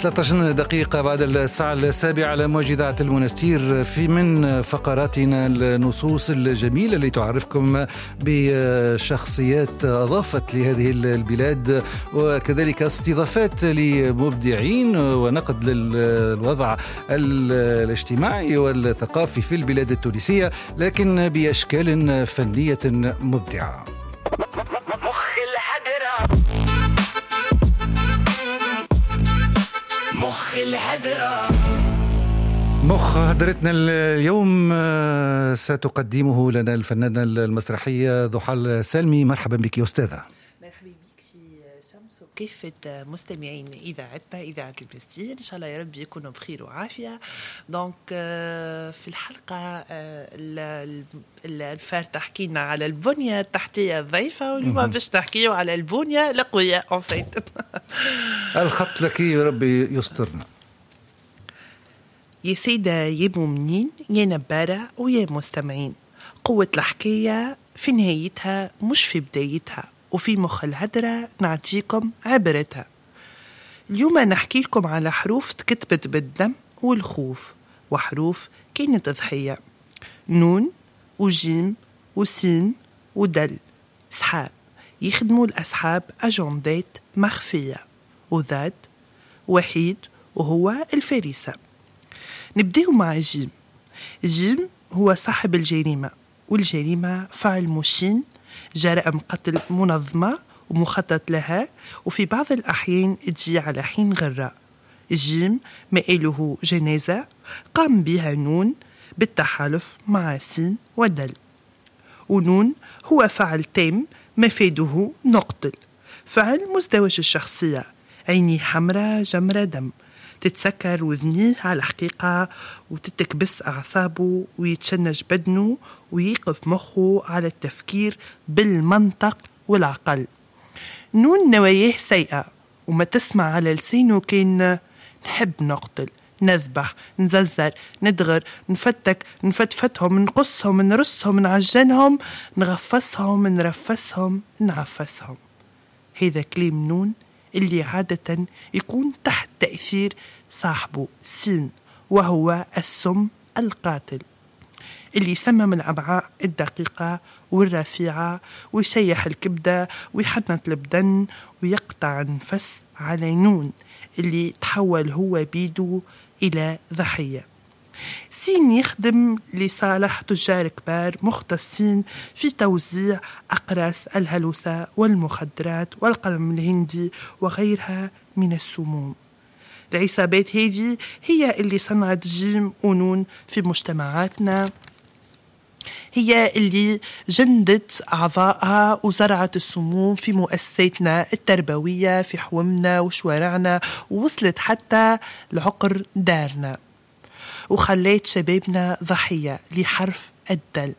13 دقيقة بعد الساعة 7 على موجة إذاعة المنستير، في من فقراتنا النصوص الجميلة اللي تعرفكم بشخصيات أضافت لهذه البلاد، وكذلك استضافات لمبدعين ونقد للوضع الاجتماعي والثقافي في البلاد التونسية، لكن بأشكال فنية مبدعة. مخ الهدرة، مخ الهدرة، مخ هدرتنا اليوم ستقدمه لنا الفنانة المسرحية ضحى السالمي. مرحبا بك يا أستاذة. مرحبا بك في شمس وكافة مستمعين إذاعتنا إذاعة المنستير، إن شاء الله يا ربي يكونوا بخير وعافية. donc في الحلقة الفارطة حكينا على البنية التحتية الضعيفة، واليوم باش نحكيو على البنية القوية en fait. الخط لك يا ربي يسترنا. يا سيدة يا مؤمنين يا نبارة ويا مستمعين، قوة الحكاية في نهايتها مش في بدايتها، وفي مخ الهدرة نعطيكم عبرتها. اليوم نحكي لكم على حروف تكتبت بالدم والخوف، وحروف كانت ضحية: نون وجيم وسين ودل، سحاب يخدموا الأصحاب أجندات مخفية، وذات وحيد وهو الفريسة. نبدأ مع جيم. جيم هو صاحب الجريمة، والجريمة فعل مشين، جرائم قتل منظمة ومخطط لها، وفي بعض الأحيان تجي على حين غراء. جيم مآله جنازة قام بها نون بالتحالف مع سين ودل، ونون هو فعل تام مفاده نقتل، فعل مزدوج الشخصية، عيني حمراء جمرة دم، تتسكر وذنيه على الحقيقة وتتكبس أعصابه ويتشنج بدنه ويقف مخه على التفكير بالمنطق والعقل. نون نواياه سيئة وما تسمع على لسانه كان نحب نقتل، نذبح، نززر، ندغر، نفتك، نفتفتهم، نقصهم، نرصهم، نعجنهم، نغفصهم، نرفسهم، نعفسهم. هذا كلام نون اللي عادة يكون تحت تأثير صاحبه سين، وهو السم القاتل اللي يسمم الأمعاء الدقيقة والرفيعة ويشيح الكبدة ويحنط البدن ويقطع النفس على نون اللي تحول هو بيدو إلى ضحية. سين يخدم لصالح تجار كبار مختصين في توزيع أقراص الهلوسة والمخدرات والقلم الهندي وغيرها من السموم. العصابات هذه هي اللي صنعت جيم ونون في مجتمعاتنا، هي اللي جندت أعضائها وزرعت السموم في مؤسساتنا التربوية، في حومنا وشوارعنا، ووصلت حتى لعقر دارنا، وخليت شبابنا ضحية لحرف الدل.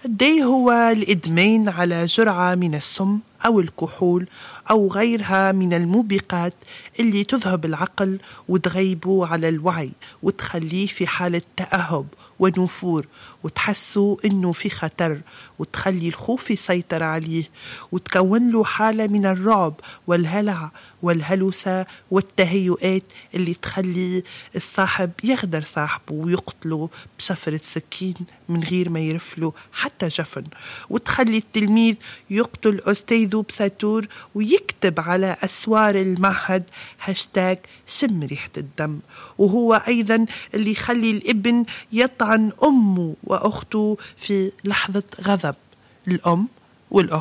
الدي هو الإدمان على جرعة من السم أو الكحول أو غيرها من الموبقات اللي تذهب العقل وتغيبه على الوعي وتخليه في حالة تأهب ونفور، وتحسه إنه في خطر، وتخلي الخوف يسيطر عليه، وتكون له حالة من الرعب والهلع والهلوسة والتهيؤات اللي تخلي الصاحب يغدر صاحبه ويقتله بشفرة سكين من غير ما يرفله حتى جفن، وتخلي التلميذ يقتل أستاذه بساتور ويكتب على أسوار المعهد هاشتاج شم ريحة الدم. وهو أيضا اللي يخلي الابن يطعن أمه وأخته في لحظة غضب، الأم والأخت.